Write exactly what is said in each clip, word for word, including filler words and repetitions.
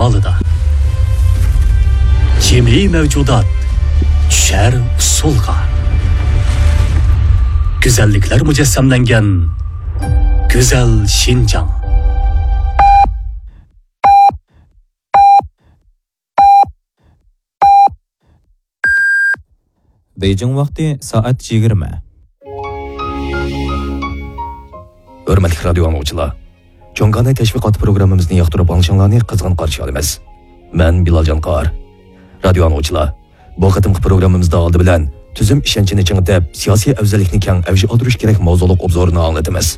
ئالىدا. جىمى مەۋجۇدات چۈشەر ئۇسسۇلغا. گۈزەللىكلەر مۇجەسسەملەنگەن گۈزەل شىنجاڭ. بېيجىڭ ۋاقتى سائەت يىگىرمە. ھۆرمەتلىك رادىيو ئاڭلىغۇچىلار، جۇڭگاناي تەشۋىقات پروگراممىمىزنى ياقتۇرۇپ ئاڭلىشىڭلارنى قىزغىن قارشى ئالىمىز. مەن بىلال جانقار. رادىيو ئاڭلىغۇچىلار، بۇ قېتىمقى پروگراممىمىزدا ئالدى بىلەن تۈزۈم ئىشەنچىنى چىڭىتىپ، سىياسىي ئەۋزەللىكنى كەڭ ئەۋج ئالدۇرۇش كېرەك ماۋزۇلۇق ئوبزورنى ئاڭلىتىمىز.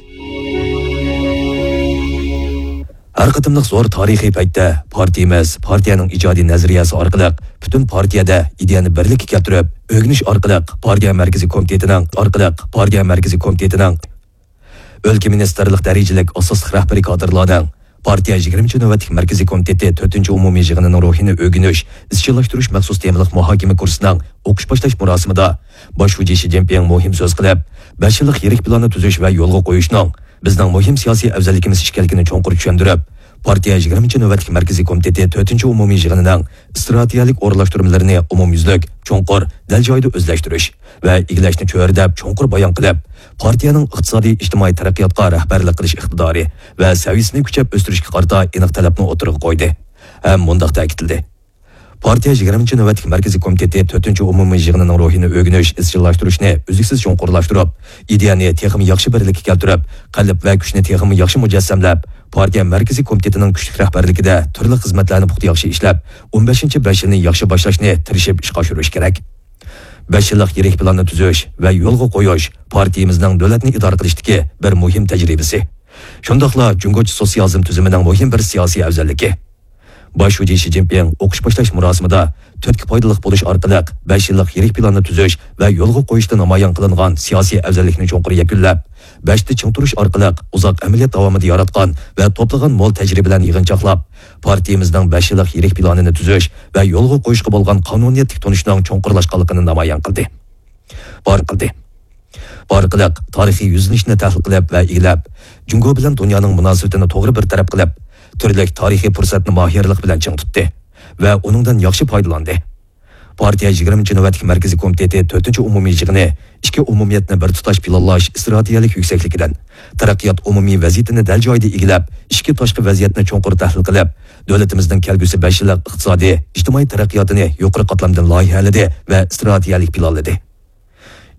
ھەر قېتىملىق زور تارىخىي پەيتتە پارتىيىمىز پارتىيەنىڭ ئىجادىي نەزەرىيەسى ئارقىلىق پۈتۈن پارتىيەدە ئىدىيەنى بىرلىككە كەلتۈرۈپ، ئۆگىنىش ئارقىلىق پارتىيە مەركىزىي كومىتېتىنىڭ، ئارقىلىق پارتىيە مەركىزىي كومىتېتىنىڭ ئۆلكە مىنىستىرلىق دەرىجىلىك ئاساسلىق رەھبىرىي كادىرلارنىڭ، پارتىيە يىگىرمىنچى نۆۋەتلىك مەركىزىي كومىتېتى تۆتىنچى ئومۇمىي يىغىنىنىڭ روھىنى ئۆگىنىش، ئىزچىللاشتۇرۇش مەخسۇس تېمىلىق مۇھاكىمە كۇرسىنىڭ ئوقۇش باشلاش مۇراسىمىدا باش شۇجى شى جىنپىڭ مۇھىم سۆز قىلىپ، بەش يىللىق يىرىك پىلاننى تۈزۈش ۋە يولغا قويۇشنىڭ بىزنىڭ مۇھىم سىياسىي ئەۋزەللىكىمىز ئىكەنلىكىنى چوڭقۇر چۈشەندۈرۈپ، پارتىيە يىگىرمىنچى نۆۋەتلىك مەركىزىي كومىتېتى تۆتىنچى ئومۇمىي يىغىنىنىڭ ئىستراتېگىيەلىك ئورۇنلاشتۇرمىلىرىنى ئومۇميۈزلۈك، چوڭقۇر، دەل جايىدا ئۆزلەشتۈرۈش ۋە ئىگىلەشنى چۆرىدەپ چوڭقۇر بايان قىلىپ، پارتىيەنىڭ ئىقتىسادىي، ئىجتىمائىي تەرەققىياتقا رەھبەرلىك قىلىش ئىقتىدارى ۋە سەۋىيەسىنى كۈچەپ ئۆستۈرۈشكە قارىتا ئېنىق تەلەپنى ئوتتۇرىغا قويدى ھەم مۇنداق تەكىتلىدى: پارتىيە يىگىرمىنچى نۆۋەتلىك مەركىزىي كومىتېتى تۆتىنچى ئومۇمىي يىغىنىنىڭ روھىنى ئۆگىنىش، ئىزچىللاشتۇرۇشنى ئۈزلۈكسىز چوڭقۇرلاشتۇرۇپ، ئىدىيەنى تېخىمۇ ياخشى بىرلىككە كەلتۈرۈپ، قەلب ۋە كۈچنى تېخىمۇ ياخشى مۇجەسسەملەپ، پارتىيە مەركىزىي كومىتېتىنىڭ كۈچلۈك رەھبەرلىكىدە تۈرلۈك خىزمەتلەرنى پۇختا ياخشى ئىشلەپ، ئون بەشىنچى بەش يىلنى ياخشى باشلاشنى تىرىشىپ ئىشقا ئاشۇرۇش كېرەك. بەش يىللىق يىرىك پىلاننى تۈزۈش ۋە يولغا قويۇش پارتىيىمىزنىڭ دۆلەتنى ئىدارە قىلىشتىكى بىر مۇھىم تەجرىبىسى. شۇنداقلا جۇڭگوچە سوتسىيالىزم تۈزۈمىنىڭ مۇھىم بىر سىياسىي ئەۋزەللىكى. باش شۇجى شى جىنپىڭ ئوقۇش باشلاش مۇراسىمىدا تۈرتكە پايدىلىق بولۇش ئارقىلىق بەش يىللىق يىرىك پىلاننى تۈزۈش ۋە يولغا قويۇشتا نامايان قىلىنغان سىياسىي ئەۋزەللىكنى چوڭقۇر يەكۈنلەپ، بەشتە چىڭ تۇرۇش ئارقىلىق ئۇزاق ئەمەلىيەت داۋامىدا ياراتقان ۋە توپلىغان مول تەجرىبىلەرنى يىغىنچاقلاپ، پارتىيىمىزنىڭ بەش يىللىق يىرىك پىلانىنى تۈزۈش ۋە يولغا قويۇشقا بولغان قانۇنىيەتلىك تونۇشنىڭ چوڭقۇرلاشقانلىقىنى نامايان قىلدى. بار قىلدى. بۇ ئارقىلىق تارىخىي يۈزلىنىشنى تەھلىل قىلىپ ۋە ئىگىلەپ، جۇڭگو بىلەن دۇنيانىڭ مۇناسىۋىتىنى توغرا بىر تەرەپ قىلىپ، تۈرلۈك تارىخىي پۇرسەتنى ماھىرلىق بىلەن چىڭ تۇتتى ۋە ئۇنىڭدىن ياخشى پايدىلاندى. پارتىيە يىگىرمىنچى نۆۋەتلىك مەركىزىي كومىتېتى تۆتىنچى ئومۇمىي يىغىنى ئىچكى ئومۇمىيەتنى بىر تۇتاش پىلانلاش ئىستراتېگىيەلىك يۈكسەكلىكىدىن، تەرەققىيات ئومۇمىي ۋەزىيىتىنى دەل جايىدا ئىگىلەپ، ئىچكى تاشقى ۋەزىيەتنى چوڭقۇر تەھلىل قىلىپ، دۆلىتىمىزنىڭ كەلگۈسى بەش يىللىق ئىقتىسادىي، ئىجتىمائىي تەرەققىياتىنى يۇقىرى قاتلامدىن لايىھەلىدى ۋە ئىستراتېگىيەلىك پىلانلىدى.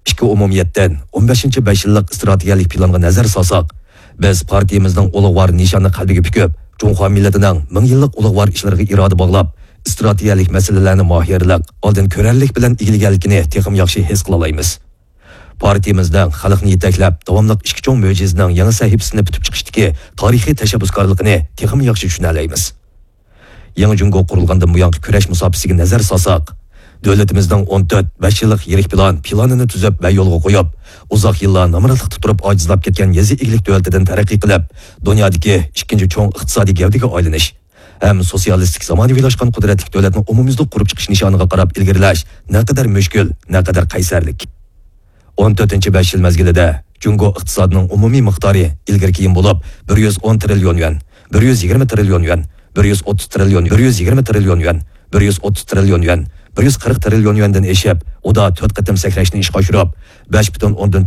ئىككى ئومۇمىيەتتىن ئون بەشىنچى بەش يىللىق ئىستراتېگىيەلىك پىلانغا نەزەر سالساق، بىز پارتىيىمىزنىڭ ئۇلۇغۋار نىشاننى قەلبىگە پۈكۈپ، جۇڭخۇا مىللىتىنىڭ مىڭ يىللىق ئۇلۇغۋار ئىشلىرىغا ئىرادە باغلاپ، ئىستراتېگىيەلىك مەسىلىلەرنى ماھىرلىق، ئالدىن كۆرەرلىك بىلەن ئىگىلىگەنلىكىنى تېخىمۇ ياخشى ھېس قىلالايمىز. پارتىيىمىزنىڭ خەلقنى يېتەكلەپ، داۋاملىق ئىككى چوڭ مۆجىزىنىڭ يېڭى سەھىپىسىنى پۈتۈپ چىقىشتىكى تارىخىي تەشەببۇسكارلىقىنى تېخىمۇ ياخشى چۈشىنەلەيمىز. يېڭى جۇڭگو قۇرۇلغاندىن بۇيانقى كۈرەش مۇساپىسىگە نەزەر سالساق، دۆلىتىمىزنىڭ ئون تۆت، بەش يىللىق يىرىك پىلان پىلانىنى تۈزۈپ ۋە يولغا قويۇپ، ئۇزاق يىللار نامراتلىقتا تۇرۇپ ئاجىزلاپ كەتكەن يېزا ئىگىلىك دۆلىتىدىن تەرەققىي قىلىپ، دۇنيادىكى ئىككىنچى چوڭ ئىقتىسادىي گەۋدىگە ئايلىنىش ھەم سوتسىيالىستىك زامانىۋىلاشقان قۇدرەتلىك دۆلەتنى ئومۇميۈزلۈك قۇرۇپ چىقىش نىشانىغا قاراپ ئىلگىرىلەش نەقەدەر مۈشكۈل، نەقەدەر قەيسەرلىك. ئون تۆتىنچى بەش يىل مەزگىلىدە جۇڭگو ئىقتىسادىنىڭ ئومۇمىي مىقدارى ئىلگىرى كېيىن بولۇپ، بىر يۈز ئون تىرىليون يۈەن، بىر يۈز يىگىرمە تىرىليون يۈەن، بىر يۈز ئوتتۇز تىرىليون، بىر يۈز يىگىرمە تىرىليون يۈەن، بىر يۈز ئوتتۇز تىرىليون يۈەن، بىر يۈز قىرىق تىرىليون يۈەندىن ئېشىپ، ئۇدا تۆت قېتىم سەكرەشنى ئىشقا ئاشۇرۇپ، بەش پۈتۈن ئوندىن